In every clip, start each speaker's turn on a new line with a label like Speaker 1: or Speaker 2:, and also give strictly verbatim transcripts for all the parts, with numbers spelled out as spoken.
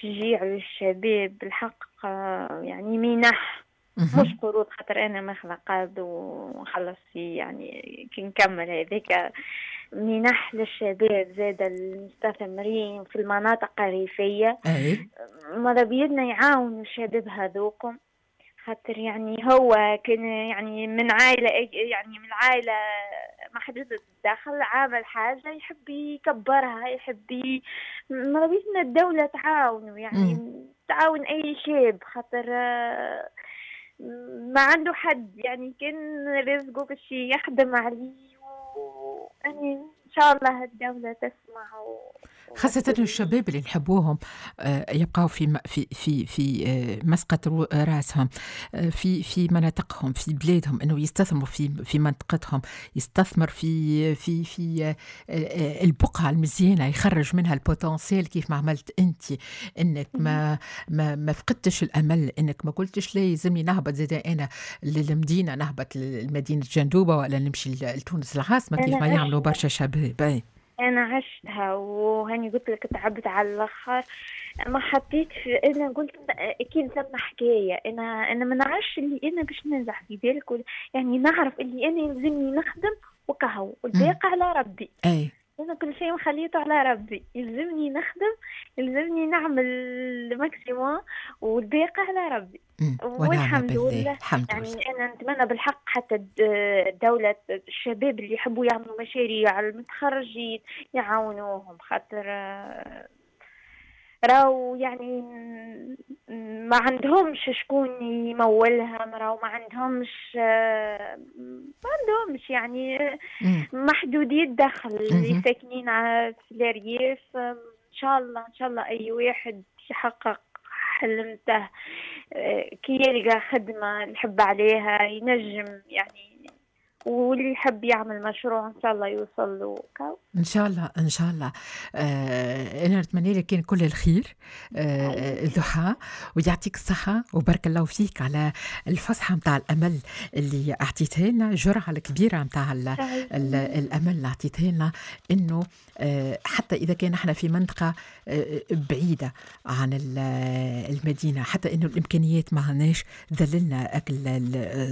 Speaker 1: تشجيع للشباب بالحق، آه، يعني منح مش قروض، خاطر انا ماخذه قرض ونخلص فيه، يعني كي نكمل هذيك منح للشباب زاد المستثمرين في المناطق الريفية. ماذا بيدنا يعاونوا الشباب هذوكم، خاطر يعني هو كان يعني من عائلة، يعني من عائلة محدودة الدخل، عامل حاجة يحب يكبرها، يحب، ماذا بيدنا الدولة تعاونه، يعني م. تعاون أي شاب، خاطر ما عنده حد، يعني كان رزقه باش يخدم عليه، و يعني إن شاء الله الدولة تسمع و...
Speaker 2: خاصة الشباب اللي نحبوهم آه، يبقوا في في في في آه، مسقط راسهم، آه، في في مناطقهم، في بلادهم، انه يستثمروا في في منطقتهم، يستثمر في في في البقعة المزيانة، يخرج منها ال potentiel كيف ما عملت انت، انك ما ما ما فقدتش الامل، انك ما قلتش لا يلزمني نهبط زاد انا للمدينة، نهبط لمدينة جندوبة ولا نمشي لتونس العاصمة كيف ما يعملوا برشا شباب.
Speaker 1: انا عشتها وهاني قلت لك تعبت على الاخر، ما حطيت في، انا قلت اكيد ثم حكايه، انا انا ما نعرفش اللي انا باش ننجح في بالك، يعني نعرف اللي انا يلزمني نخدم وكهو والباقي على ربي.
Speaker 2: اي
Speaker 1: انا كل شيء مخليته على ربي، يلزمني نخدم، يلزمني نعمل ال maximum والباقي على ربي.
Speaker 2: والحمد لله.
Speaker 1: الحمد يعني لله. انا نتمنى بالحق حتى الدولة، الشباب اللي يحبوا يعملوا مشاريع، المتخرجين، يعاونوهم، خاطر راهو يعني ما عندهمش شكون يمولها، راهو ما عندهمش ما عندهمش يعني محدودي الدخل اللي ساكنين في الارياف. ان شاء الله ان شاء الله اي واحد يحقق حلمته، كي يلقى خدمة يحب عليها ينجم، يعني واللي يحب يعمل مشروع ان شاء الله يوصل له.
Speaker 2: ان شاء الله ان شاء الله. آه انا نتمنى لك كان كل الخير آه ضحى، ويعطيك الصحة وبارك الله فيك على الفسحة نتاع الامل اللي اعطيتها لنا، الجرعة الكبيرة نتاع الامل اللي اعطيتها لنا، انه آه حتى اذا كان احنا في منطقة آه بعيدة عن المدينه، حتى انه الامكانيات ما عندناش، ذللنا اكل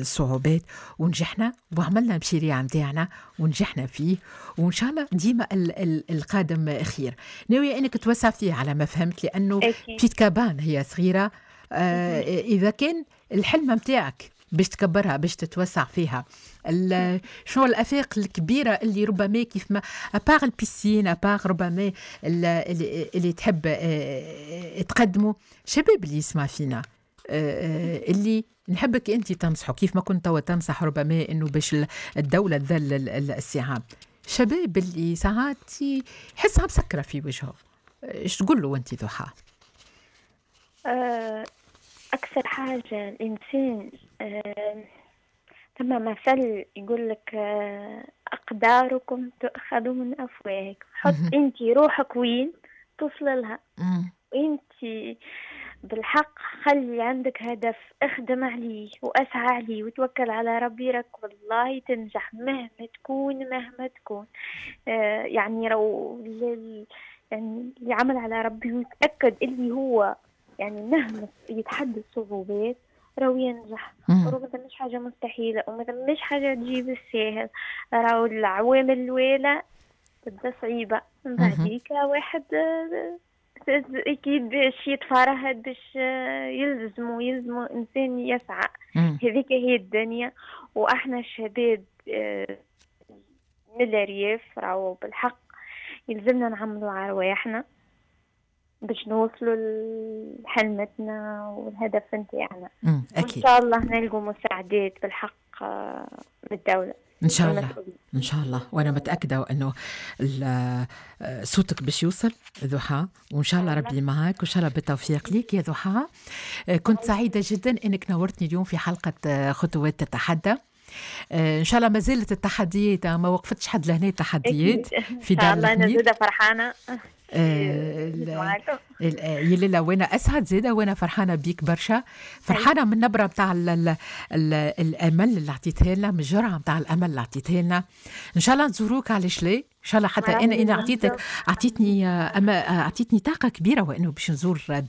Speaker 2: الصعوبات ونجحنا وعملنا المشاريع نتاعنا ونجحنا فيه، وان شاء الله ديما القادم خير. ناوية انك توسع فيه على ما فهمت، لانه petite cabane هي صغيره، آه اذا كان الحلم نتاعك باش تكبرها، باش تتوسع فيها، شنو الافاق الكبيرة اللي ربما كيف ما à part ال piscine، à part ربما اللي, اللي تحب آه، تقدمه شباب اللي يسمع فينا، آه، آه، اللي نحبك انت تنصحه كيف ما كنت توا تنصح ربما انه باش الدولة تذلل الصعاب، شباب اللي ساعات يحسها مسكره في وجهه، ايش تقول له انت ضحى؟
Speaker 1: أه، اكثر حاجة الانسان، أه، ثم مثل يقول لك أه، اقداركم تؤخذ من افواهكم. حط انت روحك وين توصل لها. انت بالحق خلي عندك هدف، اخدم عليه واسعى عليه وتوكل على ربي، راك والله تنجح مهما تكون، مهما تكون. آه يعني رو يعني اللي عمل على ربي ويتأكد اللي هو يعني مهما يتحدى الصعوبات راهو ينجح. راهو ما ثماش حاجة مستحيلة وما ثماش حاجة تجي بالساهل، راهو العوامل الأولى تبدا صعيبة، من بعديك واحد آه، اكيد باش يتفرهد، باش يلزمو يلزمو انسان يسعى. هذيك هي الدنيا. واحنا الشباب آه، من الارياف راهو بالحق يلزمنا نعملوا على رواحنا باش نوصلوا لحلمتنا والهدف نتاعنا.
Speaker 2: اكيد.
Speaker 1: وان شاء الله نلقوا مساعدات بالحق آه، من الدولة.
Speaker 2: ان شاء الله ان شاء الله، وانا متاكدة انه صوتك باش يوصل ضحى، وان شاء الله ربي معك، وان شاء الله بالتوفيق ليك يا ضحى. كنت سعيدة جدا انك نورتني اليوم في حلقة خطوات تتحدى. ان شاء الله ما زالت التحديات، ما وقفتش حد لهنا التحديات.
Speaker 1: في دار ان شاء الله انا زاده فرحانه.
Speaker 2: آه يا لالا وانا اسعد زاده، وانا فرحانة بيك برشا، فرحانة من النبرة نتاع الامل اللي عطيتها لنا، من الجرعة نتاع الامل اللي عطيتها لنا. ان شاء الله نزوروك، علاش لا؟ ان شاء الله. حتى انا انا اعطيتك اعطيتني اما اعطيتني طاقة كبيرة وانه باش نزور دار.